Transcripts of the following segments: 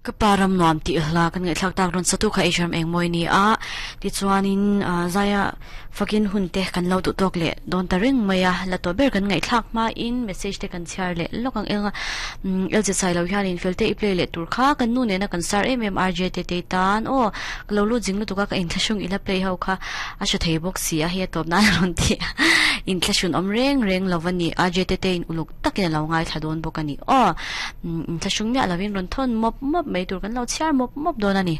Ka pa ram nuam tih hla kan ngaihthlak tak rawn satu kha Hram Engmawi ni a, tichuanin zaia fakin hun te kan lo duh tawk leh dawn ta reng mai a, la tawh ber kan ngaihthlak hmain message te kan chhiar leh lawk ang eng a, LZ Sailo hianin fel te i play leh tur kha kan nu nena kan star em em RJ te tei tan aw ka lo lut zing lutuk a ka inthlahrung ila play ho kha a hre thei bawk si a hei a tawp nan a rawn ti a, inthlahrun awm reng reng lo a ni RJ te teiin uluk takin a lo ngaithla dawn bawk a ni. Aw, inthlahrung miah lovin rawn thawn mawp mawp mai tur kan lo chhiar mawp mawp dawn a ni.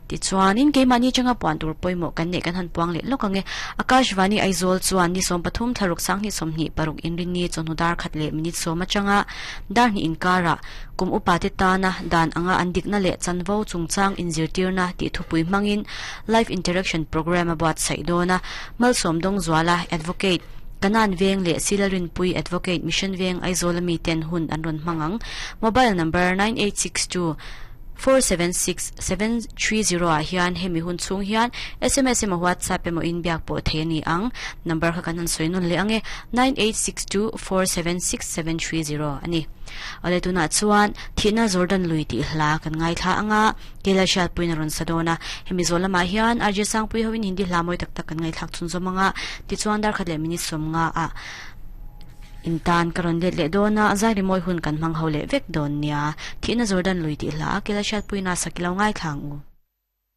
Tichuanin keimahni atanga puan tur pawimawh kan neih kan han puang leh lawk ang e. Akashvani Aizawl chuan ni 13 thlaruk sanghnih 26 inrinni chawhnu dar khat leh minute sawm atanga dar hnih inkarah kum upa te tana dan anga an dikna leh chanvo chungchang inzirtirna tih thupui hmangin Live Interaction Programme a buatsaih dawn a. Malsawm Dawngzuala, Advocate, Kanan Veng leh Silarinpui Advocate Mission Veng Aizawl ami ten hun an rawn hmang ang. Mobile number 9862 476 730 ah hian hemi hun chhung hian sms emaw WhatsApp emaw in biak pawh thei a ni ang. Number kha kan han sawi nawn leh ang e, 9862 476 730 a ni. Awle tunah chuan Thihna Jordan Lui tih hla kan ngaithla ang a. Kela hriatpuiin a rawn sa dawn a, hemi zawh lamah hian RJ Sangpui hoin Hindi hla mawi tak tak kan ngaihthlak chhun zawm ang a, tichuan darkhat leh minute 50 ah intan ka rawn let leh dawn a, zai rimawi hun kan hmang ho leh vek dawn nia. Thihna Jordan lui tih hla a Kela hriatpuiin a sak i lo ngaithla ang u.